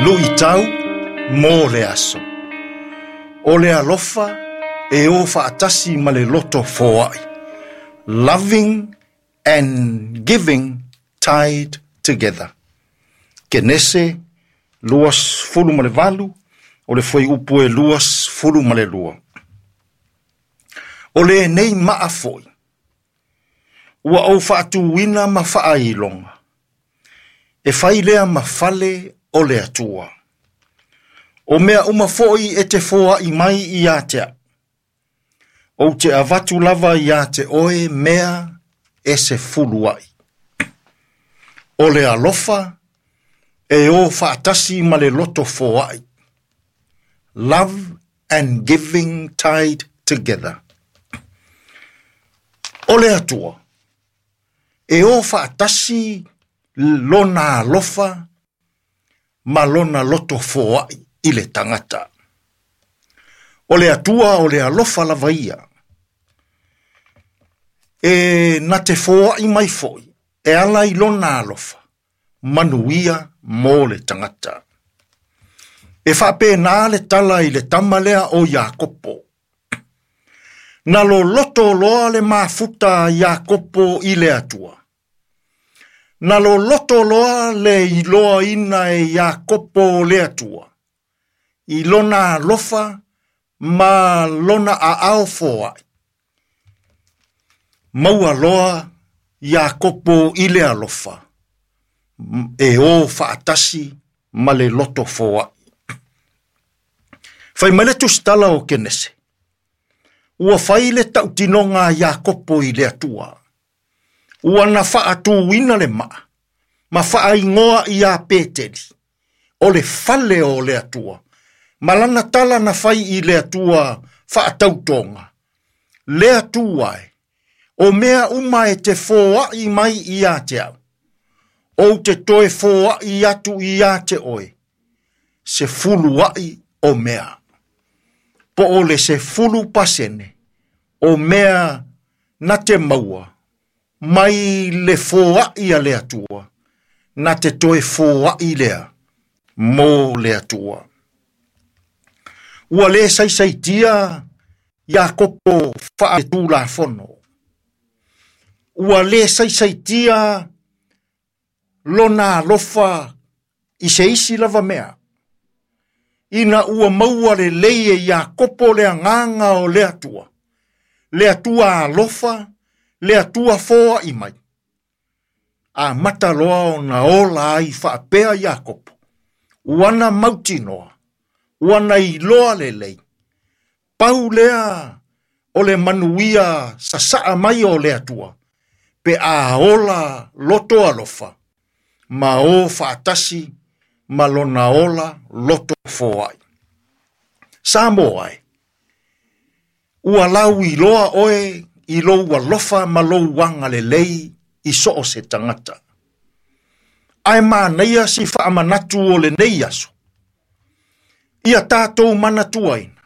Luʻitau mo le aso. O le alofa e o faatasi ma le loto foai. Loving and giving tied together. Kenese 28, o le fuaiupu e 22. O lenei maa foi, ua ou faatuina ma faailoga, e fai lea ma fale o le Atua. O mea uma foi e te foai mai ia te au, ou te avatu lava ia te oe mea e 10 ai. O le alofa e o faatasi ma le loto foai. Love and giving tied together. O le Atua e o faatasi lona alofa ma lona loto foai i le tagata. O le Atua o le alofa lava ia. E na te foai mai foi, e ala i lona alofa, manuia mo le tagata. E faapena le tala i le tama lea o Iakopo. Na loloto loa le mafuta a Iakopo i le Atua. Na loloto loa le iloaina e Iakopo o le Atua, i lona alofa ma lona aao foai. Maua loa Iakopo i le alofa, e o faatasi ma le loto foai. Fai mai le tusitala o Kenese, ua fai le tautinoga a Iakopo i le Atua. Ua na faatuina le maa, ma faaigoa ia Peteli, o le fale o le Atua, ma lana tala na fai i le Atua faatautoga. Le Atua e, o mea uma e te foai mai ia te au, ou te toe foai atu ia te oe, 10 ai o mea. Po o le 10% o mea na te maua, mai le foai a le Atua, na te toe foai lea mo le Atua. Ua le saisaitia Iakopo faaletulafono. Ua le saisaitia lona alofa i se isi lava mea. Ina ua maua lelei e Iakopo le agaga o le Atua, le Atua alofa, le Atua foai mai. Amata loa ona ola ai faapea Iakopo, ua na mautinoa, ua na iloa lelei, pau lea o le manuia sasaa mai o le Atua, pe a ola loto alofa, ma o faatasi ma lona ola loto foai. Samoa e, ua lau iloa oe i lou alofa ma lou agalelei i so o se tagata. Ae manaia si faamanatu o lenei aso. Ia tatou manatuaina,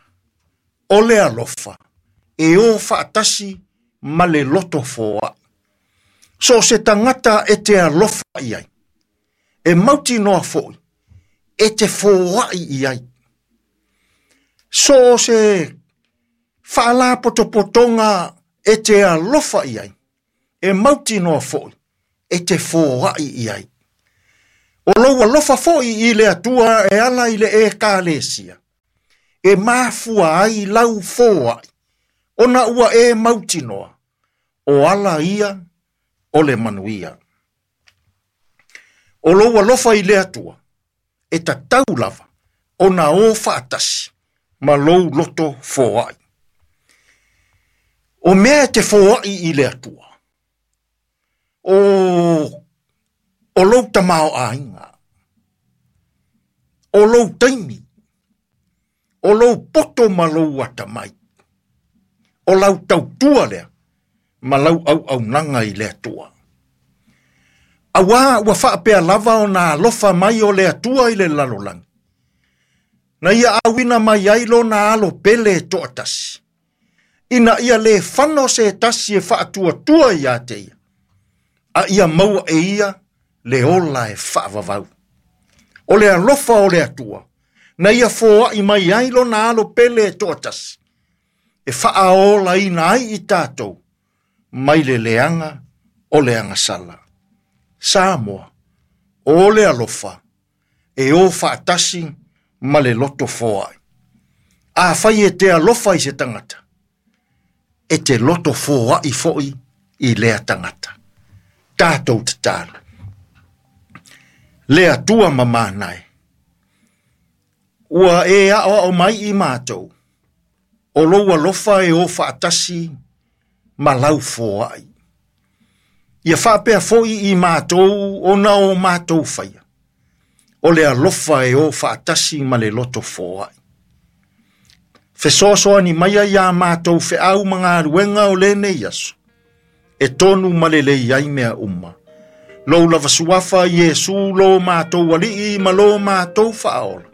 o le alofa e o faatasi ma le loto foai. So se tagata e te alofa i ai, e mautinoa foi, e te foai i ai. So se faalapotopotoga e te alofa i ai, e mautinoa foi, e te foai i ai. O lou alofa foi i le Atua e ala i le ekalesia, e mafua ai lau foai, ona ua e mautinoa, o ala ia o le manuia. O lou alofa i le Atua, e tatau lava, ona o faatasi, ma lou loto foai. O mea e te foai i le Atua, o lou tamaoaiga, o lou taimi, o lou poto ma lou atamai, o lau tautua lea, ma lau auaunaga i le Atua. Auā ua faapea lava ona alofa mai o le Atua i le lalolagi, na ia auina mai ai lona alo pele e toatasi, ina ia le fano se tasi e faatuatua ia te ia, a ia maua e ia le ola e faavavau. O le alofa o le Atua, na ia foaʻi mai ai lona alo pele e toatasi, e faaolaina ai i tatou mai le leaga o le agasala. Samoa, o le alofa, e o faatasi ma le loto foai. Afai e te alofa i se tagata, e te loto foai foi i lea tagata. Tatou tatalo. Le Atua mamana e, ua e aoao mai i matou, o lou alofa e o faatasi ma lau foai. Ia faapea foi i matou ona o matou faia, o le alofa e o faatasi ma le loto foai. Fesoasoani maia iā matou feau ma galuega o lenei aso, e tonu ma lelei ai mea uma. Lou lava suafa Iesu lo matou Alii ma lo matou Faaola.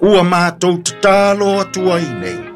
Ua matou tatalo atu ai nei.